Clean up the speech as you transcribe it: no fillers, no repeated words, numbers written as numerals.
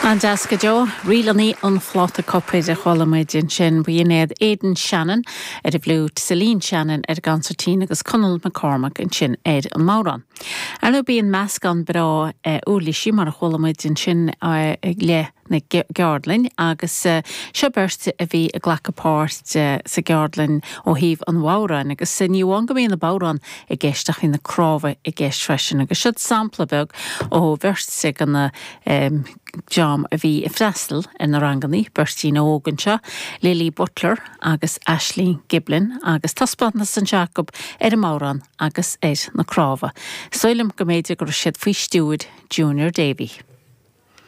An-deas go deo. Ríleanna an Phláta Copair a chuala muid ansin. B'in iad Aidan Shannon ar an bhfliúit, Celine Shannon ar an gconsairtín agus Conall McCormack ansin ar an mbodhrán. Ar ndóigh bíonn meascán breá uirlisí mar a chuala muid ansin le na gceardlann agus seo beirt a bhí ag glacadh páirt sa gceardlann ó thaobh an bhodhráin agus ní amháin go mbíonn na bodhráin i gceist ach bhí na cnámha i gceist freisin agus siod sampla beag ó bheirt de na dream a bhí ag freastal ar na rangannaí, beirtín óg anseo, Lily Butler agus Aisling Giblin agus taispeántas anseo acu ar an mbodhrán agus ar na cnámha. Is dóigh liom go mb'fhéidir go raibh siad faoi stiúir Junior Davy.